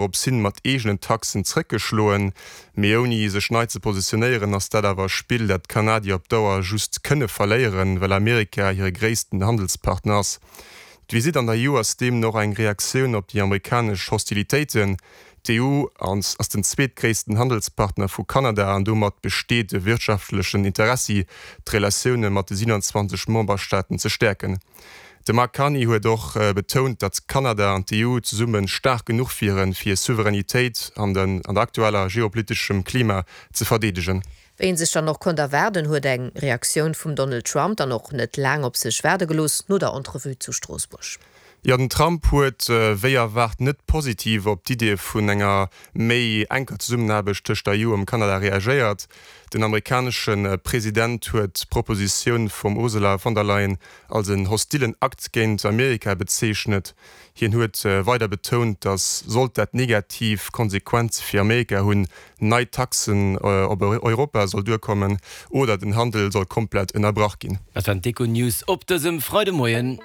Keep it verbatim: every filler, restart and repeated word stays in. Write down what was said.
Dorops hin mat eegenen Taxen zréckgeschloen. Mee ouni sech nei ze positionéieren, ass dat awer e Spill, dat d'Kanadier op Dauer just kënne verléieren, well Amerika hire gréissten Handelspartner ass. D'Visitt an der E U ass deemno och eng Reaktioun op déi amerikanesch Hostilitéiten. D'E U ass den zweetgréissten Handelspartner vu Kanada an domat besteet e wirtschaftlechen Interessi, d'Relatioune mat de siewenundzwanzeg Memberstaaten ze stäerken. De Mark Carney huet och betount, datt Kanada an d'E U zesumme staark genuch wieren, fir hir Souveränitéit an der aktueller geopoliteschem Klima ze verdeedegen. Wéi een sech dann och konnt erwaarden, huet eng Reaktioun vum Donald Trump dann och net laang op sech waarde gelooss no der Entrevue zu Stroossbuerg. Jo, den Trump huet wéi erwaart net positiv op d'Idee vun enger méi enker Zesummenaarbecht tëscht der E U am Kanada reagéiert. Den amerikanesche President huet d'Propositioun vum Ursula von der Leyen als en hostillen Akt géint Amerika bezeechnet. Hien huet weider betount, datt sollt dat negativ Konsequenze fir Amerika hunn, nei Taxen op Europa soll duerkommen oder den Handel soll komplett ënnerbrach ginn. Dat waren d'Econews op dësem Freidemoien.